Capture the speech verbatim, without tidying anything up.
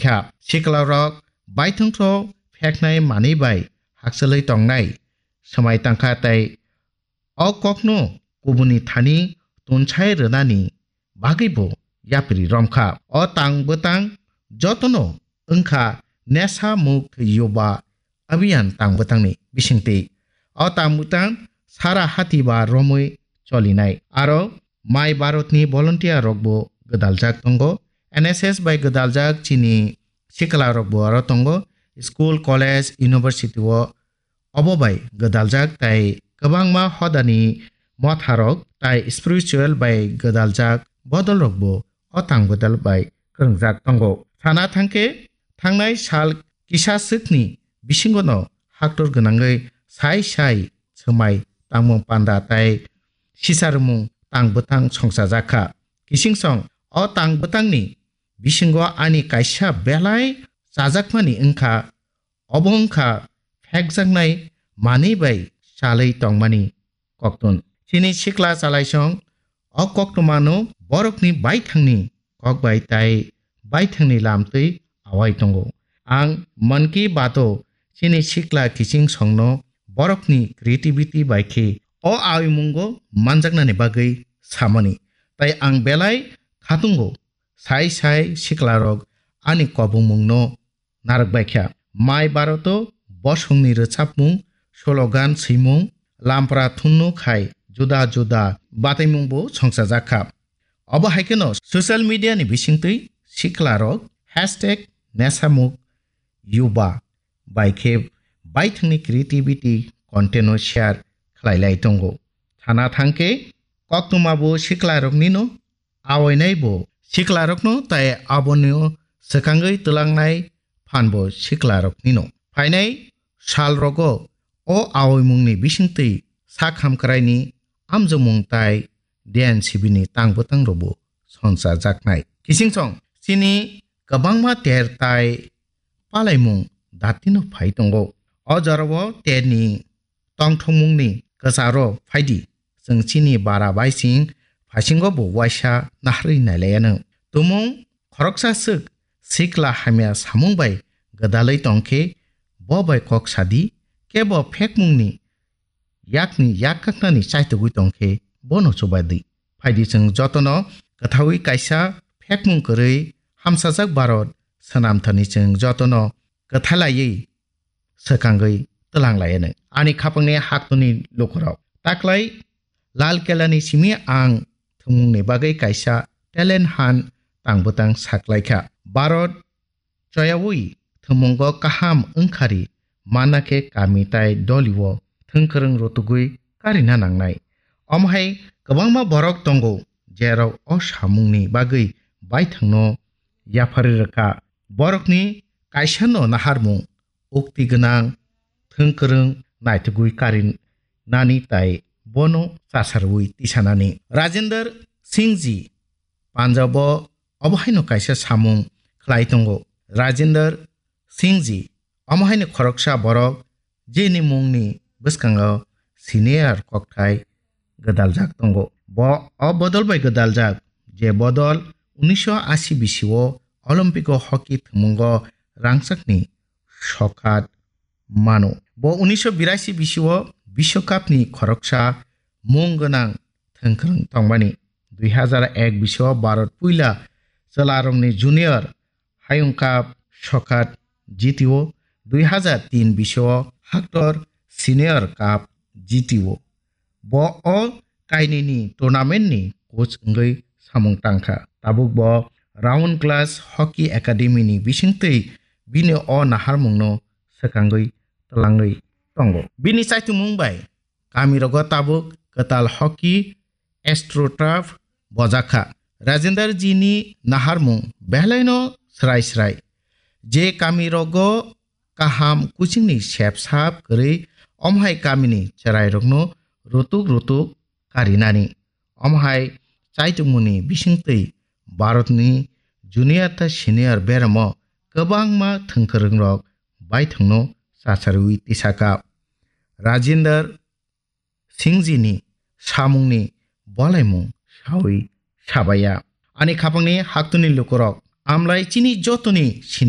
kha. Sikla rok baithang khe pheknai manwi bai hakchalwi tongnai swmai tangkha tei o kokno kubuni thani tunsai rwnani bagwibo yapri romkha. O tang bwtang jotono wngkha Nesa Mukt Yuba Abhiyan tang bwtangni bisingtwi. O tang bwtang sara hati ba romwi cholinai. Aro Mai Bharatni volunteer rokbo gwdaljak tongo. N S S bai gwdaljak chini sikla rokbo aro tongo. School, college, university o obo bai gwdaljak tai kwbangma hodani motharok tai spiritual bai gwdaljak bodolrokbo o tang bodol bai kwrwngjak tongo. Sana thangkhe thangnai sal kisa swkni bisingono haktor gwnangwi sai sai swmai tangmung panda tai sisarmung tang bwtang songchajak kha. Kisingsong o tang bwtangni bisingo ani kaisa belai chajakmani wngkha, obo wngkha phekjaknai manwi bai chalwi tongmani koktun. Chini sikla chalaisong o koktwmano borokni baithangni kok bai tai baithangni lamtwi awai tongo. Ang Mann Ki Baat o chini sikla kiching songno borokni creativity bai khe o awimungo manjaknani bagwi samani. Tai ang belai khatungo sai sai siklarok ani kobongmungno narwk bai kha. Mai Bharat o bosongni rwchapmung, slogan swimung, lampra thunnu khai juda juda bataimungbo songchajak kha. Obo hai kheno social media ni bisingtwi siklarok hashtag nesamuk yuba bai khe baithangni creativity content no share khlai lai tongo. Thana thangkhe koktwma bo siklaroknino awainai bo siklarokno tai aboni swkangwi twlangnai phan bo siklaroknino. Phainai salrogo o awaimungni bisingtwi sak hamkraini amjokmung tai D N C B ni tang bwtang rokbo sonsa jaknai. Kisingsong chini kwbangma ter tai palaimung datino phai tongo. O jorao terni tongthokmungni kwcharo phaidi, chwng chini bara baising phaisingo bo waisa naharwi nailaianw. Tumung khoroksa swk sikla hamya samung bai gwdalwi tongkhe bo bai kok sadi, kebo phekmungni yakni yak kaknani chaitugwi tongkhe bono chubadi. Phaidi chwng jotono kwthawi kaisa phekmung kwrwi hamsajak Bharat swnamthani chwng jotono kwthalaiwi swkangwi twlang laianw. Ani khapangni haktoni lukurok. Taklai Lal Kelani simi ang thwngmungni bagwi kaisa talent hunt tang bwtang saklaikha. Bharat choyawi thwngmungo kaham wngkhari manna khe kami tai dolio thwngkwrwng rutugwi karina nangnai. Omo hai kwbangma borok tongo, jerok o samungni bagwi baithangno yapharwi rwkha. Borokni kaisano naharmung, ukti gwnang, thwngkwrwng naitugwi karinani tai bono chasarwi tisanani. Rajendra Singh ji Punjab o obo haino kaisa samung khlai tongo. Rajendra Singh ji omo haino khoroksa borok jeni mungni bwskango senior kokthai gwdaljak tongo. Bo o bodol bai gwdaljak, je bodol unisho asi bisio Olympic o hockey thwngmungo rangchakni sokat mano. Bo unisho birasi bisio Biswakapni khoroksa mung gwnang thwngkwrwng tongmani. Dui hazar ek bisio Bharat puila chwlarokni junior Hayung Cup sokat jitio, dui hazar tin bisio Haktor Senior Cup jitio. Bo o kainwini tournament ni coach wngwi samung tangkha. Tabuk bo Round Glass Hockey Academy ni bisingtwi bini o naharmungno swkangwi twlangwi tongo. Bini chaitumung bai kamirogo tabuk kwtal hockey AstroTurf bojakha. Rajendra ji ni naharmung belaino srai srai. Je kamirogo kaham kuchingni sep sap kwrwi, omhai kamini chwrairokno rutuk rutuk karinani. Omhai chaitumungni bisingtwi Bharatni junior tei senior beramo kwbangma thwngkwrwngrok baithangno chacharwi tisaka. Rajendra Singh ji ni samungni bolaimung sawi sabaya. Ani khapangni haktuni lukurok, amlai chini jotoni sini